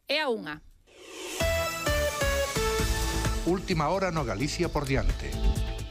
É a 1. Última hora no Galicia por diante.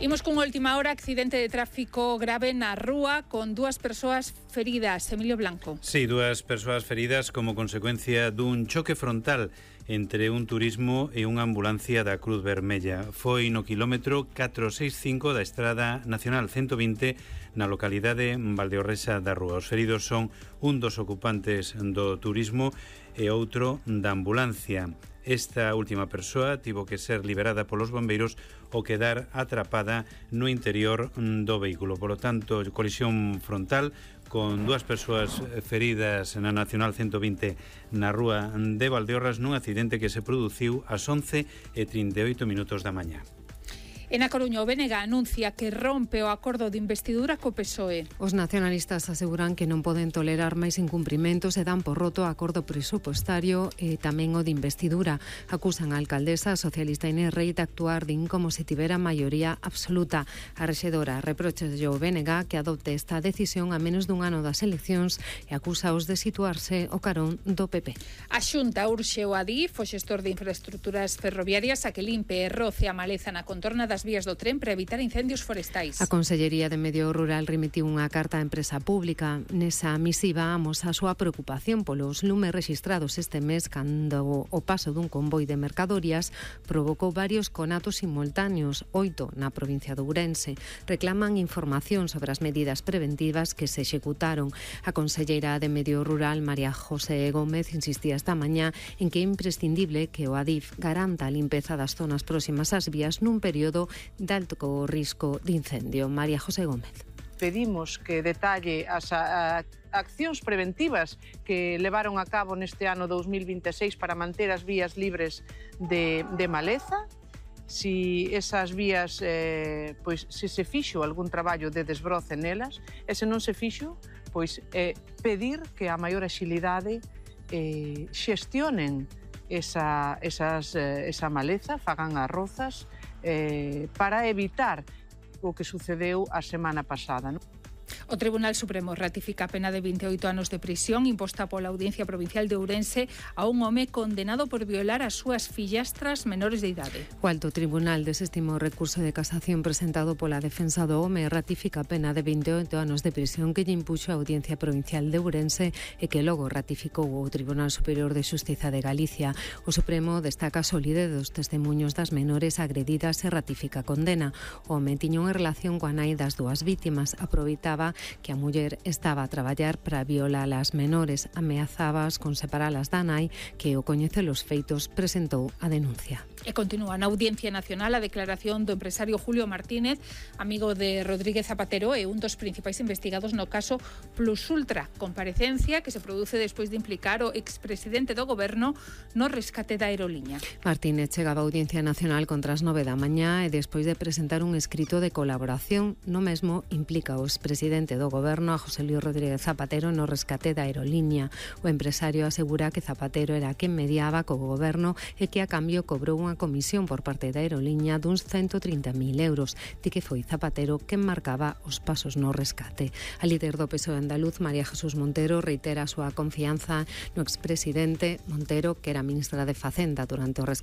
Imos cunha última hora, accidente de tráfico grave na rúa con 2 persoas feridas. Emilio Blanco. Sí, 2 persoas feridas como consecuencia dun choque frontal entre un turismo e unha ambulancia da Cruz Vermella. Foi no quilómetro 465 da Estrada Nacional 120 na localidade Valdeorresa da Rúa. Os feridos son un dos ocupantes do turismo e outro da ambulancia. Esta última persoa tivo que ser liberada polos bombeiros ao quedar atrapada no interior do vehículo. Por lo tanto, colisión frontal con 2 persoas feridas na Nacional 120 na rúa de Valdeorras nun accidente que se produciu ás 11:38 da mañá. En A Coruña, o BNG anuncia que rompe o acordo de investidura co PSOE. Os nacionalistas aseguran que non poden tolerar máis incumprimentos e dan por roto o acordo presupostario e tamén o de investidura. Acusan a alcaldesa socialista Inés Rei de actuar como se tivera maioría absoluta. A rexedora reprocha ao BNG que adopte esta decisión a menos dun ano das eleccións e acusaos de situarse o carón do PP. A Xunta urxe o Adif, o xestor de infraestructuras ferroviarias, a que limpe e roce a maleza na contorna das vías do tren para evitar incendios forestais. A Consellería de Medio Rural remitiu unha carta á empresa pública. Nesa misiva amosa a súa preocupación polos lumes rexistrados este mes cando o paso dun convoi de mercadorías provocou varios conatos simultáneos, 8 na provincia de Ourense. Reclaman información sobre as medidas preventivas que se executaron. A conselleira de Medio Rural, María José Gómez, insistía esta mañá en que é imprescindible que o Adif garanta a limpeza das zonas próximas ás vías nun período de alto risco de incendio. María José Gómez. Pedimos que detalle as accións preventivas que levaron a cabo neste ano 2026 para manter as vías libres de maleza. Si esas vías, pois, se fixo algún traballo de desbroce nelas, e se non se fixo, pois pedir que a maior axilidade xestionen esa maleza, fagan as rozas, para evitar o que sucedeu a semana pasada, non? O Tribunal Supremo ratifica a pena de 28 anos de prisión imposta pola Audiencia Provincial de Ourense a un home condenado por violar as súas fillastras menores de idade. O Alto Tribunal desestimou o recurso de casación presentado pola defensa do home e ratifica a pena de 28 anos de prisión que lle impuxo a Audiencia Provincial de Ourense e que logo ratificou o Tribunal Superior de Xustiza de Galicia. O Supremo destaca a solidez dos testemuños das menores agredidas e ratifica a condena. O home tiña unha relación coa nai das dúas vítimas, aproveitaba que a muller estaba a traballar para violar as menores, ameazábaas con separalas da nai, que ao coñecer os feitos presentou a denuncia. E continúa na Audiencia Nacional a declaración do empresario Julio Martínez, amigo de Rodríguez Zapatero e un dos principais investigados no caso Plus Ultra, comparecencia que se produce despois de implicar o expresidente do goberno no rescate da aeroliña. Martínez chegaba á Audiencia Nacional contra as 9 da mañá e despois de presentar un escrito de colaboración, no mesmo implica o expresidente do goberno a José Luis Rodríguez Zapatero no rescate da aeroliña. O empresario asegura que Zapatero era quen mediaba co goberno e que a cambio cobrou unha comisión por parte da aeroliña duns 130.000 euros, de que foi Zapatero quen marcaba os pasos no rescate. A líder do PSOE andaluz, María Jesús Montero, reitera a súa confianza no expresidente Montero, que era ministra de Facenda durante o rescate